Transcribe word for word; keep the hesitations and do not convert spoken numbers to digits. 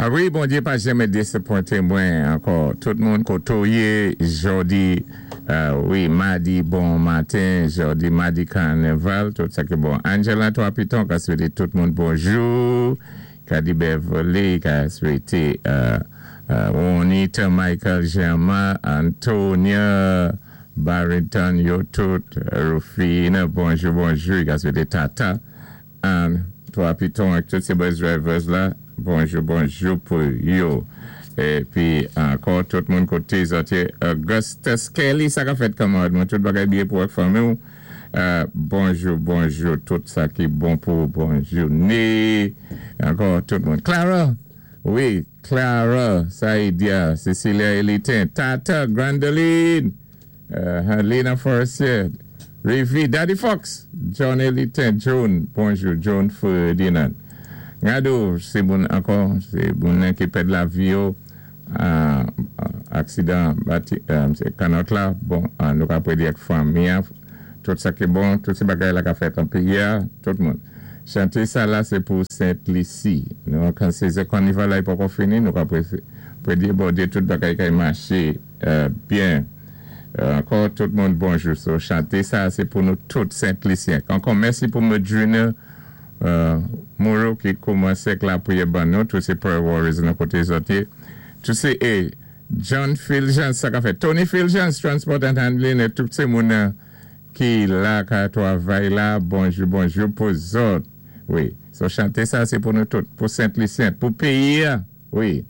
A wi, Bondyé pa janmè désapwenté mwen ankò. Tout moun koté yé, jòdi, euh, wi, madi, bon maten, jòdi, madi kanaval, tout sa ki bon. Angela Trois Pitons, ka swété tout moun bonjou. Kadi Beverly, ka swété euh, euh, Juanita, Michael Germain, Antonia, Barrington, yo tout, Rufina, bonjou, bonjou, ka swété Tata, Anne, Trois Pitons, ak tout sé bus drivers la, bonjou, bonjou pou yo. Épi ankò, tout moun koté zòt yé, Augustus Kelly, sa ka fèt kanmarad mwen, tout bagay byen pou ak fanmi ou. Euh, bonjou, bonjou, tout sa ki bon pou bon jouné. Ankò, tout moun. Clara, wi, Clara, Saïdia, Cecilia Elitin, Tata, Grandoline, euh, Lena Forestier, Rivi, Daddy Fox, John Elitin, Joan, bonjou, Joan Ferdinand. Gado, sé moun ankò, sé moun ki pèd lavi yo, euh, aksidan bati, euh, sé kannòt la, bon, euh, nou ka prédé ak fanmi, en, tout sa ki bon, tout sé bagay la ka fèt an péyi a, tout moun. Chanté sa la, sé pou Sent Lisi. Nou, kan sézon kanaval la, i poko fini, nou ka prédé Bondyé tout bagay ki maché euh, byen. Euh, ankò, tout moun bonjou. So, chanté sa, sé pou nou tout Sent Lisyen. Ankò, mèsi pou Medrina euh, Moreau ki koumansé ak lapriyè ban nou, tout sé prayer warriors nan koté zòt yé. Tout sé, eh, John Fulgence, sa ka fèt. Tony Fulgence, Transport and Handling, é tout sé moun euh, ki la, ka twavay la, bonjou, bonjou pou zòt. Wi, so chanté sa, sé pou nou tout, pou Sent Lisyen, pou péyi, wi.